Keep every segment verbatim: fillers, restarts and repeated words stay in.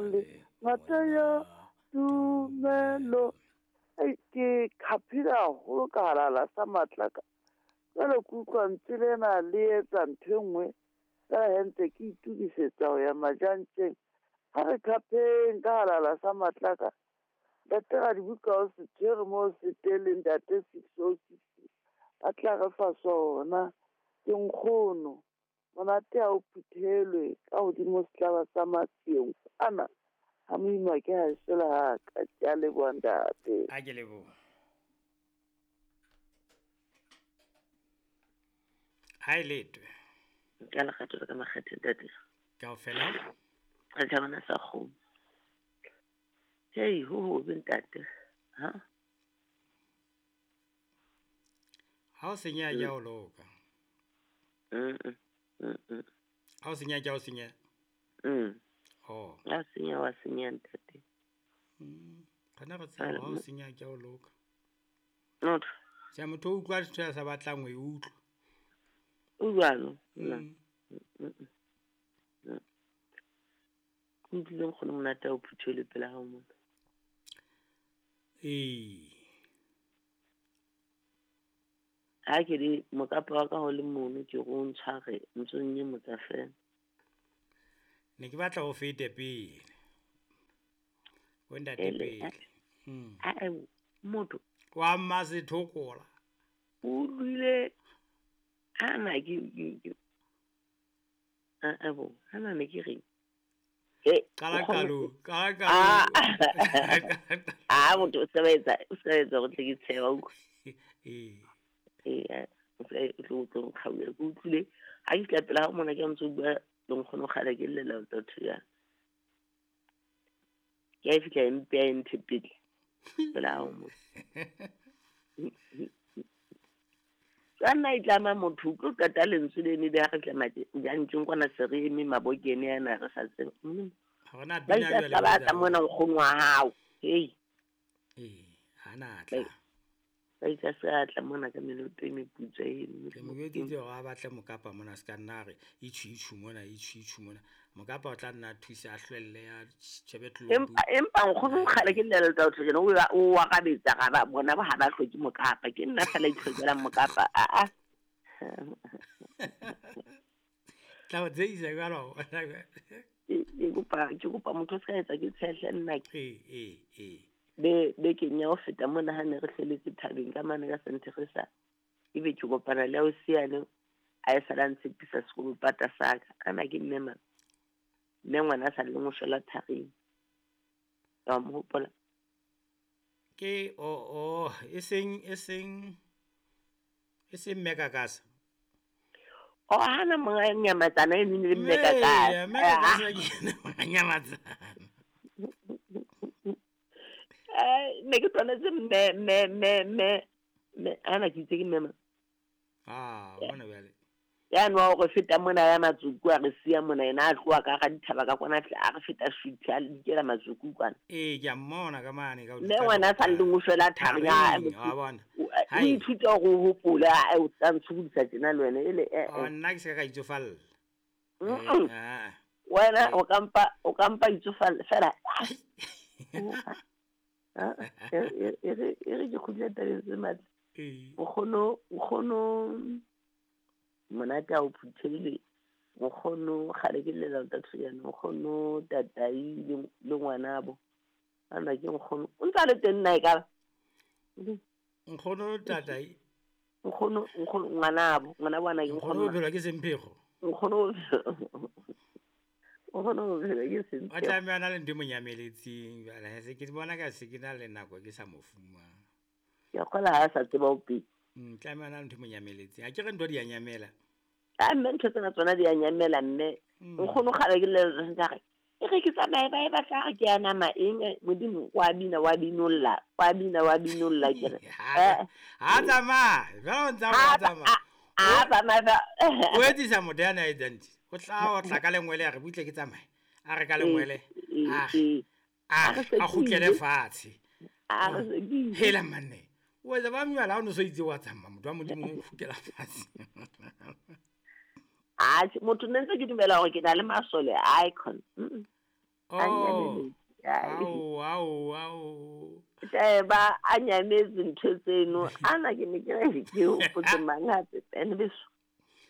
Le ngata ya tumelo. Ei, ke khapile haholo ka halala sa matlaka. Jwale ke utlwa ntse lena le etsa ntho e nngwe fela he ntse ke itukisetsa ho ya majantjeng. Ha re khapheng ka halala sa matlaka. Ntate Radibuka o se tshwere moo se teleng ntate six oh six. A tla re fa sona. Ke nkgono. Monate ha o phuthelwe ka hodimo setlaba sa matsieng. Ana ha moima ke ha sela ha ka ke a leboha ntate. A ke leboha. Ha e letwe. Ka lekgatho ka makgethe ntate. Kaofela. Re thabana sa kgomo. Hei, ho ho be ntate. Ha? Ha o senya ya o loka. Mm. Mm. Ha o senya ya o senya. Mm. Oh. Ha senya wa senya ntate. Mm. Kana re tseba ha o senya ke o loka. Not. Se motho o utlwa ntho ya sa batlang ho e utlwa. O jwalo. Mm. Mm. Ke utlwile nkgono monate o phuthele pela hao mona. Ee. Ha ke re mokapa wa ka ho le mono ke go ntshware ntso nnye motsa fela. Ne ke batla ho fete pele. O ntate pele. Mm. A e motho wa Mmasethokola. O utlwile ana ke ke a a bo ana ne ke reng. Eh, qala qalo, qala qalo. Ah, motho o sebetsa, o sebetsa go tle ke tshewa utlwa. Eh. Eh, o tlo tlo nkgaule ke utlwile ha ke tla pela ha mona ke ntse bua le nkgono kgale ke llela totho ya. Ke a fihla empe ya nthepele. Pela ha mo. Kana e tlama motho o tlo qeta lentswe le ne le ha re tlama jantjeng kwana se re eme mabokene yana re sa tsebe. Ha rena bina jwale. Ba tla mona nkgono wa hao. Hei. Eh, hana tla. Ba itse sa tla mona ka menoto e meputswa eno. Ke mo jwetsitse hore a batle mokapa mona se ka nna re itjhu itjhu mona itjhu itjhu mona. Mokapa o tla nna thusa a hlwelle ya tjhebe tlolo. Empa empa nkgono kgale ke llela tsa otho jena o o wa kabetsa ga ba bona ba ha ba hloke mokapa ke nna fela itlhokelang mokapa a a. Tla o tseisa jwalo. Ke kopa ke kopa motho se ka etsa ke tshehle nna ke. Eh eh eh. Be be ke nya o feta mona ha ne re hleletse thabeng ka mane ka Senteresa ebe ke kopana le o siane a e sala ntshepisa sekolo pata saka ana ke mme ma mme ngwana sa le mo shela tharing ka mo hopola ke o o e seng e seng e seng mme kakasa o hana monga nyamatsana e nne le mme kakasa mme kakasa ke nyamatsana. Eh, ne ke tshwanetse mme mme mme mme mme ana ke itse ke mme ma. Ah, bona bjale. Ya no o re feta mona ya matsuku a re siya mona ena a tloha ka ga dithaba ka kwana a re feta shuthi a dikela matsuku kwana. Eh, ke a mmona ka mane ka o. Mme ngwana sa le go shwela thari ya wa bona. O ithuta go hopola o tla ntshudisa tjena le wena ele eh. Oh, nna ke se ka itsofalla. Eh. Wena o kampa o kampa itsofalla fela. Ah, e re e re ke kgutla tabeng tse matla. Nkgono nkgono monate a o phuthele nkgono kgale ke llela ntatho yana nkgono tatai le ngwanabo ana ke nkgono o ntse a le teng nna e ka nkgono tatai nkgono nkgono ngwanabo ngwanabo ana ke nkgono o phelwa ke semphego nkgono nkgono o phelwa ke semphego o tlameha na le ntho e mo nyameletseng jwale se ke bona ka se ke na le nako ke sa mo fumana ke kgola ha sa tseba o pele mm tlameha na le ntho e mo nyameletseng a ke re ntho di a nyamela a mme ntho tsena tsona di a nyamela mme nkgono kgale ke le re e re ke tsamaye ba e batla re ke a nama eng modimo wa bina wa binolla wa bina wa binolla ke re ha tsamaya jwale o ntsa o tsamaya a tsamaya o etsisa motho ya na etsang o tla o tla ka lengwele a re butle ke tsamaye a re ka lengwele a a a kgutlele fatshe a re hela manne o etsa ba mjala o no so itse wa tsamaya motho wa modimo o kgutlela fatshe. A motho ne ntse ke dumela hore ke na le masole icon. A Oh. nyametse. Ai. Ao, ao, ao. Tjhe, ba a nyametse ntho tseno. Ana ke ne ke re ke hopotse mang hape ene beso.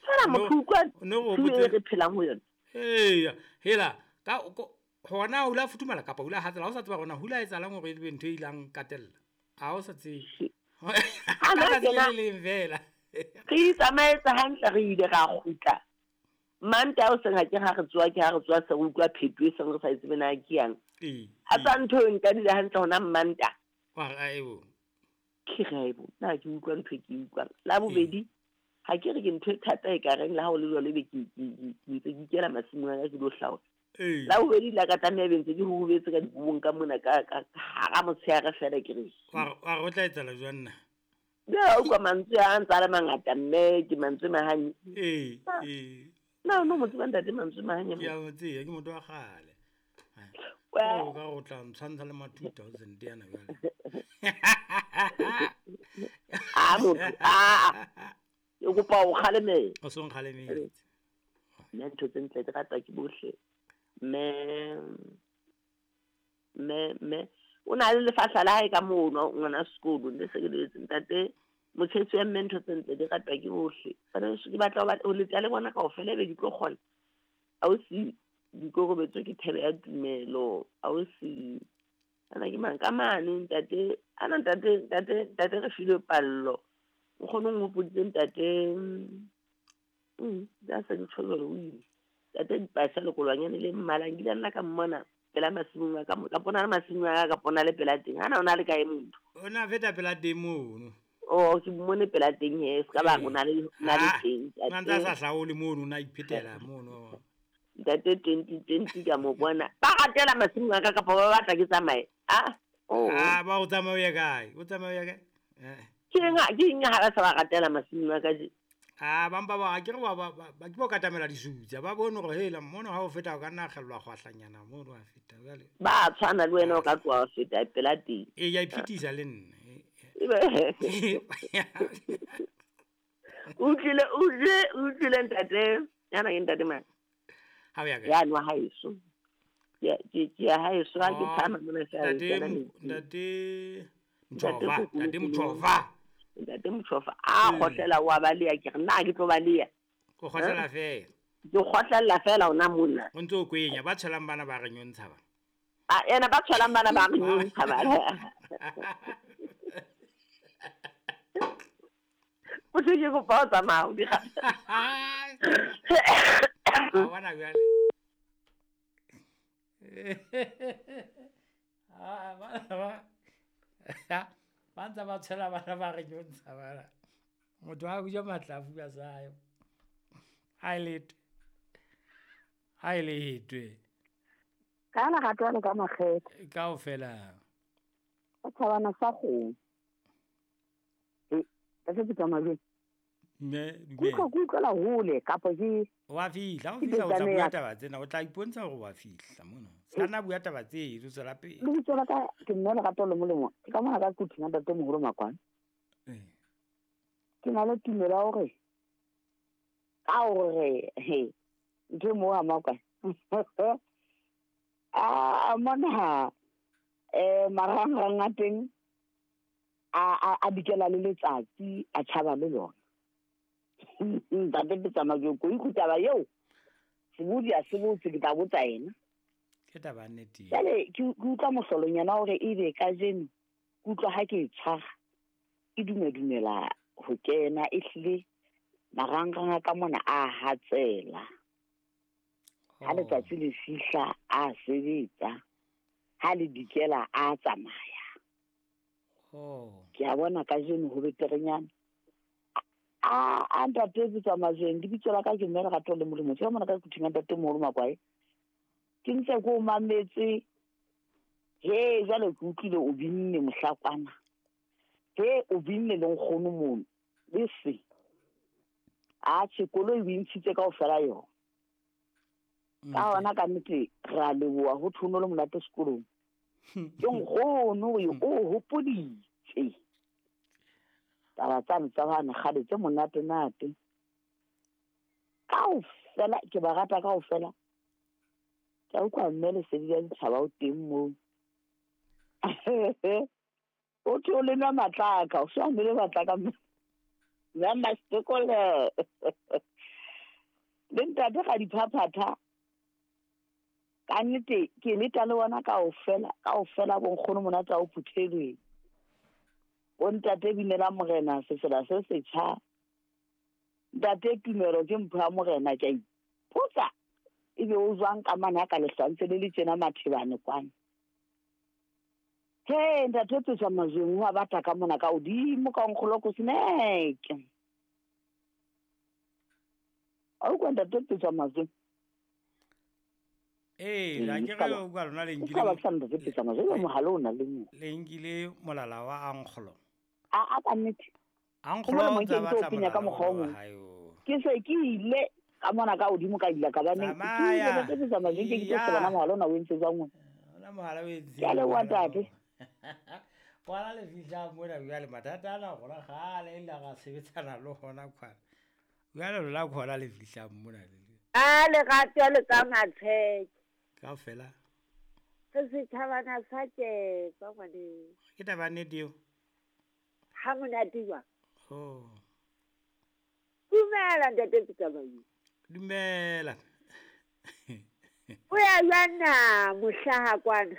Fela No, motho utlwa no tshuo e hopotse. re phelang ho yona. Eya, hela ka ko- hona o la futhumala kapa o la hatsela ha o sa tseba hore na ho la etsahalang hore ebe ntho e ilang katella. Ha o sa tsebe. Ha Ka nna tsatsi kena le leng fela. re itsamaetse hantle re ile ra kgutla. Mantaha hoseng ha ke ha re tsoha ke ha re tsoha se re utlwa pheto e seng re sa e tsebe na ke yang. Ee. A tsa ntho e nkadile hantle hona Mantaha. Wa re aebo. Ke re aebo, nna ha ke utlwa ntho e ke e utlwang. La bobedi, ha ke re ke ntho e thata e ka reng le ha ho le jwalo ebe ke ke ke ke ntse ke ikela masimong a ka ke lo hlaola. Ee. La bobedi la ka tlameha ebe ntse ke rurubetse ka dikobong ka mona ka ka hara motshehare feela ke re Wa re wa re o tla etsahala jwang na? Ja, utlwa mantswe a ntse a le mangata mme ke mantswe Mahanye. Ee, Ah. ee. Na o no mo tseba ntate mantswe Mahanye Ke mo? a mo tseba, ke motho wa kgale. Wa- O ka re o tla ntshwantsha le ma two thousand yana jwale. Ah, motho, ah, ah. Ke kopa o kgalemele. O so nkgalemetse. Nna ntho tse ntle di ratwa ke bohle. Mme, mme, mme, o na le lefahla la hae ka mono ngwana sekolo, le se ke le etse ntate motshetswe ya mme ntho tse ntle di ratwa ke bohle. Bana beso ke batla ho ba- ho letsa le bona kaofela ebe di tlo kgona. Ausi Dikokobetso ke thebe ya tumelo. Ausi ana ke mang ka mane ntate, ana ntate, ntate, ntate re filwe pallo. Nkgono o nhopoditse ntate, mm, ja se ke tjho jwalo o ile. Ntate Dipasa lekolwanyane le mmala nkile nna ka mmona pela masimong a ka mo, ka pona le masimong a ka ka pona le pela teng. Hana o na le kae motho? O na feta pela teng mono. Oh, ke mmone pela teng he, se ka ba o na le, o na le Ah, teng. o na ntse a Ntate sa hlaole mono, o na iphetela mono. ntate twenty twenty ka mo bona. Ba ratela masimong a ka kapa ba batla ke tsamaye. Ah, oh. Ah, ba o tsamaya o ye kae? O tsamaya o ye kae? Eh. Ke eng ha, ke eng ha ba sa ba ratela masimong a ka je? Ah, ba mpa ba ke re ba ba ba ke bo katamela disutsa. Ba bone hore hela mono ha o feta o ka nna kgellwa kgwahlanyana mono wa feta jwale. Ba tshwana le wena o ka tloha wa feta pela teng. Ee, ke a iphitisa le nna. Ebe o utlwile, o utlwile, o utlwile ntate, yana ke ntate mang? Ha o ya kae? Yane wa haeso. Ke ke ke ya haeso ha ke Oh, phahama mona feela Ntate ke kena Mo- metsing. Ntate Ntate Mtshova, Kgokolo Ntate Koloi. Mtshova. Ntate Mtshova a Mm. kgotlela wa baleha ke re nna ha ke tlo baleha. O kgotlela feela. Ke kgotlella fela hona mona. O ntso o kwenya ba tshwelang bana ba re nyontsha ba. Ah, ena ba tshwelang bana ba re nyontsha bana. Motho ke kopa o tsamaya o di ga- A bona jwale. Ah, bana ba ba ntse ba tshwela bana ba re nyontsha bana. Motho ha ja matlafu a sayo. Ha e letwe. Ha e letwe. Ka lerato le ka makgethe. Kaofela. Ka thabana sa kgomo. E, ka se tsamaya jwang? Mme Ke utlwa ke utlwela hole kapa ke wa fihla, ha o Ke fihla o tla tsamaye bua ya- taba tsena, o tla ipontsha hore wa fihla mono. Se ka nna bua taba tse, o tswela pele. lebitso la ka ke mme Lerato le Molemo. Ke ka mona ka Kuthing ntate moholo Makwane. Eh. Ke na le tumelo ya hore ka hore he ntho e moo ha Makwane. Ah, mona eh marangrang a teng a a a dikela le letsatsi a tjhaba le lona. Ntate ke tsamaya ke ko ikutlwa taba eo. Sebodi a se botse ke tla botsa yena. Ke taba ya nnete eo. Jwale ke ke utlwa mohlolonyana hore ebe kajeno ke utlwa ha ke e tshwara e dumedumela ho kena ehlile marangrang a ka mona a hatsela. Ha Oh. letsatsi le fihla a sebetsa, ha le dikela a tsamaya. Oh. Ke a bona kajeno ho beterenyana. A a ntate ke tsamaya jwang lebitso la ka ke mme Lerato le Molemo. Ke ka mona ka Kuthing ntate moholo Makwae. Ke ntse ke o mametse. He jwale ke utlwile o binne mohlakwana. He o binne le nkgono mono. Le se. Atjhe koloi o e ntshitse kaofela yona. Ka hona ka nnete re a leboha ho thwe o le monate sekolong. Ke nkgono o o hopoditse. Taba tsane tsa bana kgale tse monate-nate. Kaofela ke ba rata kaofela. Ke a utlwa mme lesedi la ditjhaba o teng moo. O thwe o le nwa matlaka, o so a nwele matlaka mme. Mme Mastekole. Le ntate ga diphaphatha. Ka nnete ke leta le bona kaofela, kaofela bo nkgono monate a o phuthelweng. Bo ntate binela morena sefela se setjha. Ntate Tumelo ke mpho ya morena ke a ipotsa. Ebe o jwang ka mane ha ka lehlantse le le tjena mathebane kwana. He ntate Petswa Majweng wa bata ka mona ka hodimo ka nkgoloko seneke. A utlwa ntate Petswa Majweng? Ee, la ke re o kwa lona le O ka ba sa ntate Petswa Majweng mohala o na le mo. Le nkile molala wa ankgolo. A a ka nnete. Ankgolo o Ho tsa molemo ke batla ntse o penya ka molala mokgwa o wa mong. hae o. Ke se ke ile ka mona ka hodimo ka ila ka ba ne ke ile Tsamaya. ntate Petswa Majweng ke ke tlo Iya. shebana mohala ona o entse jwang wena. Ona mohala o entse. Ke a leboha ntate. Kwana le fihla mona jwale mathata ana rona kgale e ile ra sebetsana le hona kwana. Jwale lona khona le fihlang mona le. A lerato le ka matsheke. Kaofela. Re setjhabana sa tjepa ngwaneso. Ke taba ya nnete eo. Ha monate jwang? Oh. Dumela ntate Petsamayo. Dumela. O ya jwang na mohlaha kwana?